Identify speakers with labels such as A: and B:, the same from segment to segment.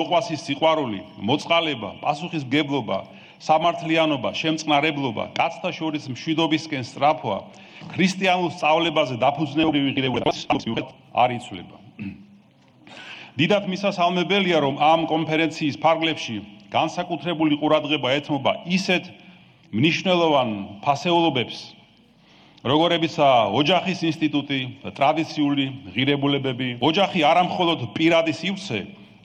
A: მოყვასის სიყვარული, მოწყალება, პასუხისმგებლობა, სამართლიანობა, შემწყნარებლობა, კაცთა შორის მშვიდობისკენ სწრაფვა, ქრისტიანულ სწავლებაზე დაფუძნებული ღირებულება არ იცვლება. დიდად მისასალმებელია, რომ ამ კონფერენციის ფარგლებში განსაკუთრებული ყურადღება ეთმობა ისეთ მნიშვნელოვან ფასეულობებს, როგორებიცაა ოჯახის ინსტიტუტი, ტრადიციული ღირებულებები. ოჯახი არა მხოლოდ პირადი სივრცე,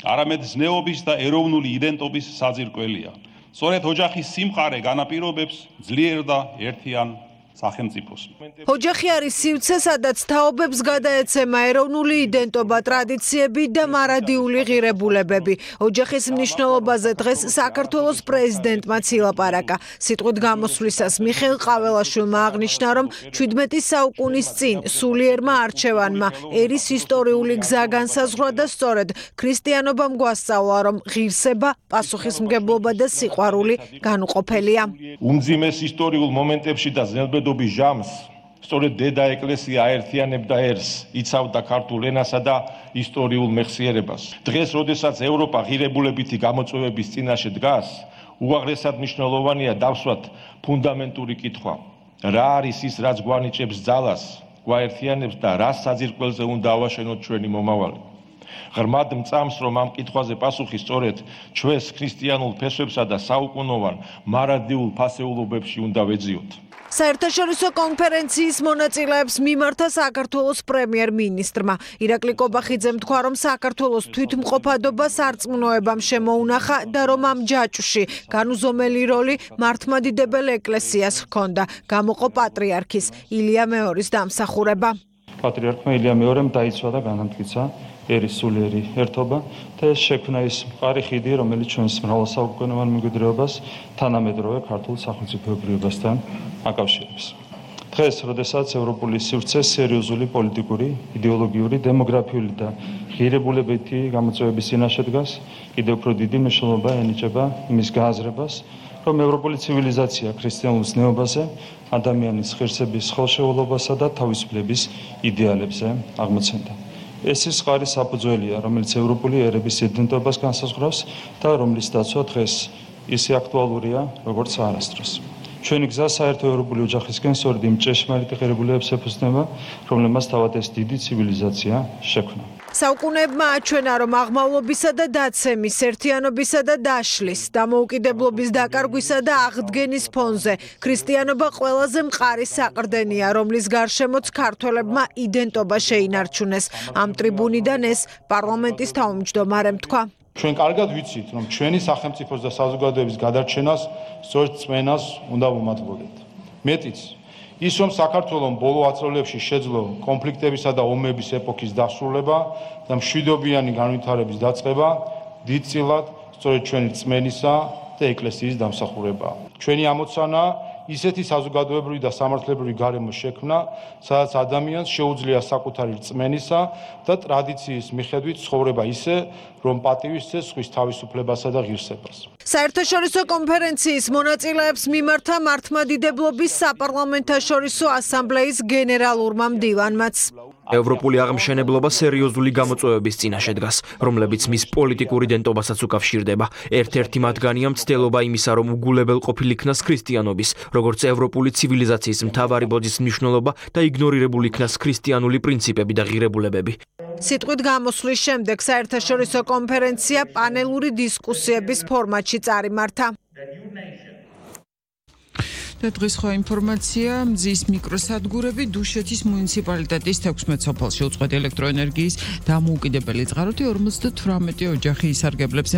A: არამედ ზნეობის და ეროვნული იდენტობის საძირკველია. სწორედ ოჯახის სიმყარე განაპირობებს ძლიერ და ერთიან სახელმწიფოს.
B: ოჯახი არის სივრცე, სადაც თაობებს გადაეცემა ეროვნული იდენტობა, ტრადიციები და მარადიული ღირებულებები. ოჯახის მნიშვნელობაზე დღეს საქართველოს პრეზიდენტმა ილაპარაკა. სიტყვით გამოსვლისას მიხეილ ყაველაშვილმა აღნიშნა, რომ 17 საუკუნის წინ სულიერმა არჩევანმა ერის ისტორიული გზა განსაზღვრა და სწორედ ქრისტიანობამ გვასწავლა, რომ ღირსება, პასუხისმგებლობა და სიყვარული განუყოფელია.
C: უმძიმეს ისტორიულ მომენტებში და ზნელბედობის ჟამს სწორედ დედა ეკლესია აერთიანებდა ერს, იცავდა ქართულ ენასა და ისტორიულ მეხსიერებას. დღეს, როდესაც ევროპა ღირებულებითი გამოწვევების წინაშე დგას, უაღრესად მნიშვნელოვანია დავსვათ ფუნდამენტური კითხვა. რა არის ის, რაც გვანიჭებს ძალას, გვაერთიანებს და რას საძირკველზე უნდა ავაშენოთ ჩვენი მომავალი. ღრმად მწამს, რომ ამ კითხვაზე პასუხი სწორედ ჩვენს ქრისტიანულ ფესვებსა და საუკუნოვან მარადიულ ფასეულობებში უნდა ვეძიოთ.
B: საერთაშორისო კონფერენციის მონაწილეებს მიმართა საქართველოს პრემიერ-მინისტრმა. ირაკლი კობახიძემ თქვა, რომ საქართველოს თვითმყოფადობა სარწმუნოებამ შემოუნახა და რომ ამ ჯაჭვში განუზომელი როლი მართლმადიდებელ ეკლესიას ჰქონდა. გამოყო პატრიარქის ილია მეორის დამსახურება.
D: პატრიარქმა ილია მეორემ დაიცვა და განამტკიცა ერის სულიერი ერთობა და ეს შექმნა ის მყარი ხიდი, რომელიც ჩვენს მრავალსაუკუნოვან მემკვიდრეობას თანამედროვე ქართულ სახელმწიფოებრიობასთან აკავშირებს. დღეს, როდესაც ევროპული სივრცე სერიოზული პოლიტიკური, იდეოლოგიური, დემოგრაფიული და ღირებულებითი გამოწვევების წინაშე დგას, კიდევ უფრო დიდი მნიშვნელობა ენიჭება იმის გააზრებას, რომ ევროპული ცივილიზაცია ქრისტიანულ ზნეობაზე, ადამიანის ღირსების ხელშეულობასა და თავისუფლების იდეალებზე აღმოცენდა. ეს ის მყარი საფუძველია, რომელიც ევროპული ერების იდენტობას განსაზღვრავს და რომლის დაცვა დღეს ისე აქტუალურია, როგორც არასდროს. ჩვენი გზა საერთო ევროპული ოჯახისკენ სწორედ იმ ჭეშმარიტ ღირებულებებს ეფუძნება, რომლებმაც თავად ეს დიდი ცივილიზაცია შექმნა.
B: საუკუნეებმა აჩვენა, რომ აღმავლობისა და დაცემის, ერთიანობისა და დაშლის, დამოუკიდებლობის დაკარგვისა და აღდგენის ფონზე ქრისტიანობა ყველაზე მყარი საყრდენია, რომლის გარშემოც ქართველებმა იდენტობა შეინარჩუნეს. ამ ტრიბუნიდან ეს პარლამენტის თავმჯდომარემ თქვა.
C: ჩვენ კარგად ვიცით, რომ ჩვენი სახელმწიფოს და საზოგადოების გადარჩენას სწორედ წმენას უნდა ვუმატებოდეთ. მეტიც, ის რომ საქართველოს ბოლო ათწლეულებში შეძლო კონფლიქტებისა და ომების ეპოქის დასრულება და მშვიდობიანი განვითარების დაწყება, დიდწილად სწორედ ჩვენი წმენისა და ეკლესიის დამსახურებაა. ჩვენი ამოცანა ისეთი საზოგადოებრივი და სამართლებრივი გარემო შექმნა, სადაც ადამიანს შეუძლია საკუთარი რწმენისა და ტრადიციის მიხედვით ცხოვრება ისე, რომ პატივისცეს სხვის თავისუფლებასა და ღირსებას.
B: საერთაშორისო კონფერენციის მონაწილეებს მიმართა მართლმადიდებლობის საპარლამენტაშორისო ასამბლეის გენერალურმა მდივანმაც.
E: ევროპული აღმშენებლობა სერიოზული გამოწვევების წინაშე დგას, რომლებიც მის პოლიტიკურ იდენტობასაც უკავშირდება. ერთ-ერთი მათგანია მცდელობა იმისა, რომ უგულებელყოფილ იქნას ქრისტიანობის, როგორც ევროპული ცივილიზაციის მთავარი ბოძის მნიშვნელობა და იგნორირებული იქნას ქრისტიანული პრინციპები და ღირებულებები.
B: სიტყვით გამოსვლის შემდეგ საერთაშორისო კონფერენცია პანელური დისკუსიების ფორმატში წარიმართა.
F: და დღის სხვა ინფორმაცია, მზის მიკროსადგურები დუშეთის მუნიციპალიტეტის 16 სოფელში უწყვეტ ელექტროენერგიის დამოუკიდებელი წყაროთი 58 ოჯახი ისარგებლებს